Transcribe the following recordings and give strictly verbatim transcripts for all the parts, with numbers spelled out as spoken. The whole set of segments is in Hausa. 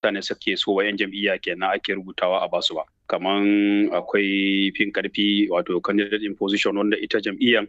Mutane suke so wa 'yan jam'iyya kenan ake rubutawa a basu ba. Kaman akwai fin karfi, wato candidate in position, wanda ita jam'iyyan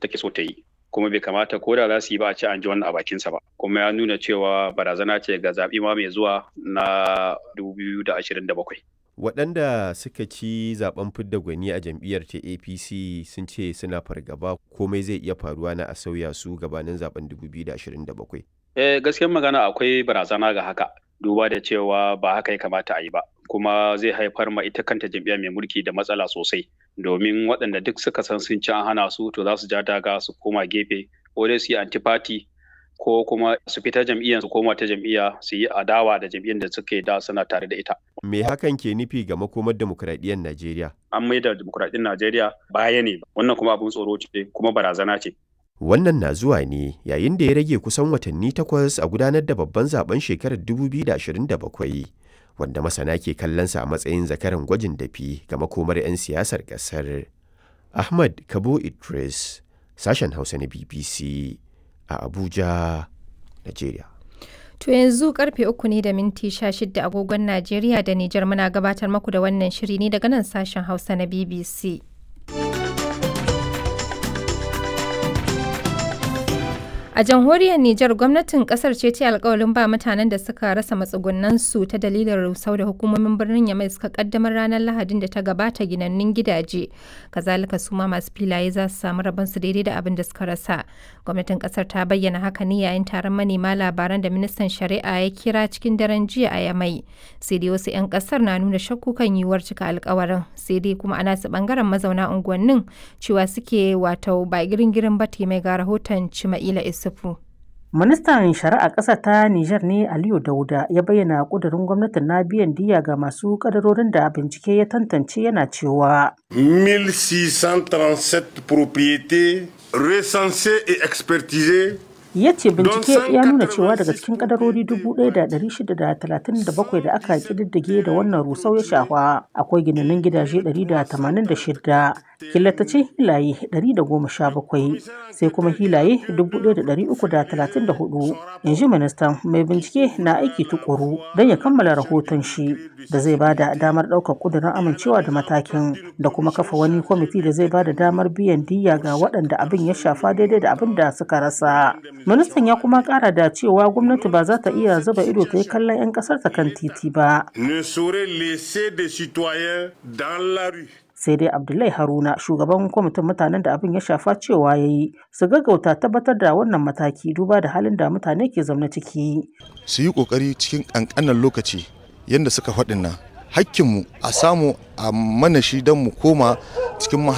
take so ta yi. Kuma bai kamata ko da za su yi ba a ce an ji wannan a bakinsa ba. Kuma ya nuna cewa barazana ce ga zaɓe ma mai zuwa na dubu biyu da ashirin da bakwai. Waɗanda suka ci zaben fidda gwani a jam'iyyar ta A P C sun ce suna fargaba komai zai iya faruwa na a sauya su gabanin zaben dubu biyu da ashirin da bakwai. Eh, gaskiyar magana akwai barazana ga haka, duba da cewa ba haka ya kamata a yi ba, kuma zai haifar ma ita kanta jam'iyya mai mulki da matsala sosai, domin waɗanda duk suka san sun ci an hana su, to za su ja daga su koma gefe, ko dai su yi antifati, ko kuma su fita jam'iyyar su koma ta jam'iyya su yi adawa da jam'iyyar da suke da suna tare da ita. Me hakan ke nufi ga makomar demokuraɗiyyar Najeriya? An maida demokuraɗiyyar Najeriya baya ne, wannan kuma abin tsoro ce kuma barazana ce. Wannan na zuwa ne yayin da ya rage kusan watanni takwas a gudanar da babban zaben shekarar dubu biyu da ashirin da bakwai, wanda masana ke kallonsa a matsayin zakaran gwajin dafi ga makomar 'yan siyasar ƙasar. Ahmad Kabo Idris, sashen Hausa na B B C a Abuja, Najeriya. To yanzu karfe uku ne da minti sha shida agogon Najeriya da Nijar. Muna gabatar maku da wannan shiri ne daga nan sashen Hausa na B B C. A jamhuriyar Nijar, gwamnatin kasar ce ta alkawalin ba mutanen da suka rasa matsugunansu ta dalilin rusau da hukumomin birnin Yamai suka kaddamar ranar Lahadin da ta gabata ginannun gidaje. Kazalika su ma masu filaye za su samu rabon su daidai da abin da suka rasa. Gwamnatin kasar ta bayyana haka ne yayin taron manema labaran da ministan shari'a ya kira cikin daren jiya a Yamai. Sai dai wasu 'yan kasar na nuna shakku kan yiwuwar cika alkawarin. Sai dai kuma ana su bangaren mazauna unguwannin cewa suke wato ba girin-girin ba. Mai ga rahoton Cima'ila Isu. Ministan Shari'a ƙasar ta Nijar ne Aliyu Dauda ya bayyana ƙudurin gwamnatin na biyan diyya ga masu kadarorin da bincike ya tantance, yana cewa. mille six cent trente-sept propriétés recensées et expertisées. Ya ce bincike ya nuna cewa daga cikin kadarori dubu ɗaya da ɗari shida da talatin da bakwai da aka kididdige da wannan rusau ya shafa, akwai ginanin gidaje ɗari da tamanin da shida, killatacin hilaye ɗari da goma sha bakwai, sai kuma hilaye dubu ɗaya da ɗari uku da talatin da huɗu, in ji ministan. Mai bincike na aiki tukuru don ya kammala rahoton shi da zai bada damar ɗaukar ƙudurin amincewa da matakin da kuma kafa wani kwamiti da zai bada damar biyan diyya ga waɗanda abin ya shafa daidai da abin da suka rasa. Ministan ya kuma kara da cewa gwamnati ba za ta iya zuba ido ta yi kallon 'yan kasar ta kan titi ba. Ne saurait laisser des citoyens dans la rue. Sai dai Abdullahi Haruna, shugaban kwamitin mutanen da abin ya shafa, cewa ya yi su gaggauta tabbatar da wannan mataki duba da halin da mutane ke zaune ciki. Su yi kokari cikin kankanan lokaci yadda suka faɗin nan, hakkinmu a samu a mana shi don mu koma cikin.